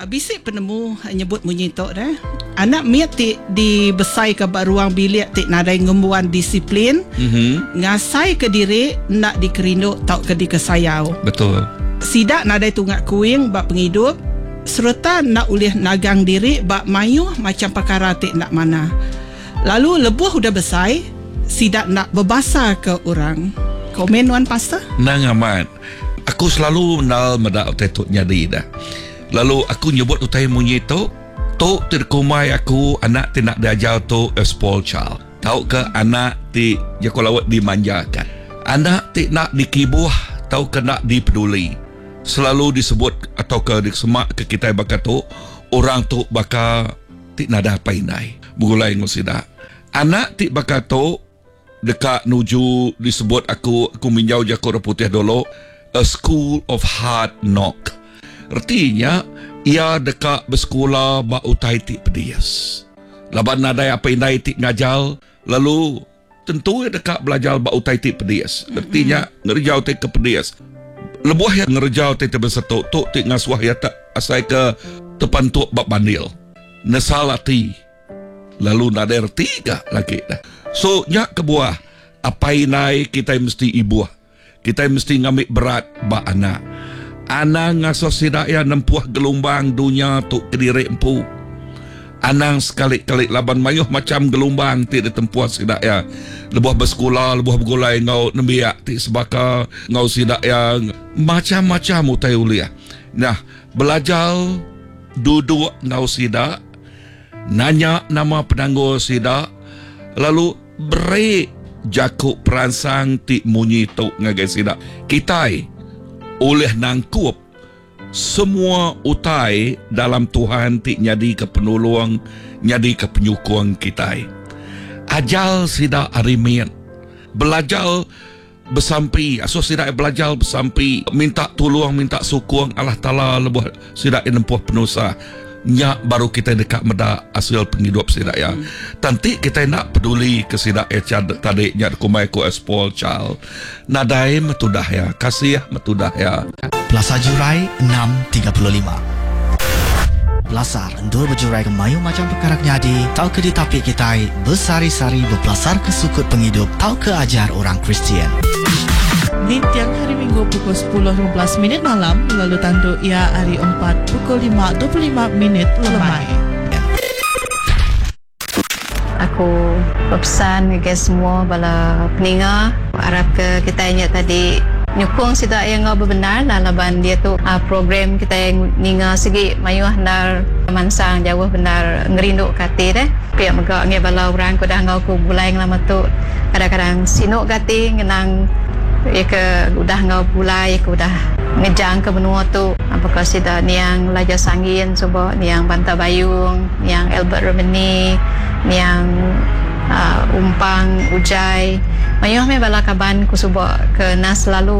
Bisi penemu nyebut munyi tu deh. Anak mit ti dibesaika ba ruang bilik ti nadai ngembuan disiplin, ngasaika diri enda dikerindu tauka dikesayau. Betul. Sida nadai tunga kuing ba pengidup sereta enda ulih nagang diri ba mayuh macham pekara ti enda manah. Lalu lebuh udah besai, sida enda bebasaka orang. Komen nuan pastor? Endang amat. Aku selalu endal meda utai tu nyadi dah. Lalu aku nyebut utai munyi tu, tu ti dikumbai aku anak ti enda diajar tu a spoiled child tauka anak ti jaku laut dimanjakan. Anak ti enda dikibuh tauka enda dipeduli selalu disebut tauka disema ke kitai baka tu orang tu baka ti nadai apai indai begulai enggau sida. Anak ti baka tu deka nuju disebut aku aku minjau jaku orang putih dulu a school of hard knock. Reti nya iya deka besekula ba utai ti pedis. Laban nadai apai indai ti ngajar lalu tentu iya deka belajar ba utai ti pedis. Reti nya ngereja utai ke pedis. Lebuh iya ngereja utai ti besetu tu ti ngasuh iya te asai ke tepantup ba bandil. Nesal ati. Lalu nadai reti ga lagi dah. So nya kebuah apai indai kitai mesti ibuh. Kitai mesti ngambi berat ba anak. Anang ngasuh sida iya nempuh gelumbang dunya tu kediri empu. Anang sekali-kali laban mayuh macham gelumbang ti ditempuh sida iya lebuh besekula, lebuh begulai enggau nembiak ti sebaka enggau sida iya macham-macham utai ulih. Nah, belajar duduk enggau sida. Nanya nama penanggul sida lalu beri jaku peransang ti munyi tu ngagai sida, Kitai ulih nangkup semua utai dalam Tuhan ti nyadika penulung, nyadika penyukung kitai. Ajar sida ari mit belajar besampi, asuh sida belajar besampi, minta tulung, minta sukung Allah Taala lebuh sida nempuh penusah. Nya baru kitai deka meda asil pengidup sida iya. Tang ti kitai enda peduli ke sida iya tadi nya dikumbai ku a spoiled child. Nadai meh tudah iya, kasih meh tudah iya. Pelasar Jurai 6:35. Pelasar endur bejuraika mayuh macham pekara ke nyadi tauka ditapi kitai besehari-sehari bepelasarka sukut pengidup tauka ajar orang Kristian. Ninting Hari Minggu pukul 10:15 minit malam lalu tandu iya hari Empat pukul 5:25 minit lemai. Aku bepesan ngagai semua bala peninga arapka kitai nya tadi nyukung sida iya enggau bebendar lah laban diatu program kitai ninga sigi mayuh endar mansang jauh bendar ngerinduka ati deh. Pia mega ngagai bala orang ke udah enggau aku begulai ngelama tu kadang-kadang sinu ga ati ngenang iya ke udah enggau begulai iya ke udah ngejangka menua tu baka sida niang Elijah Sanggin suba niang Banta Bayung. Niang Albert Remeni, niang Umpang Ujai. Mayuh meh bala kaban ku suba ke nah selalu.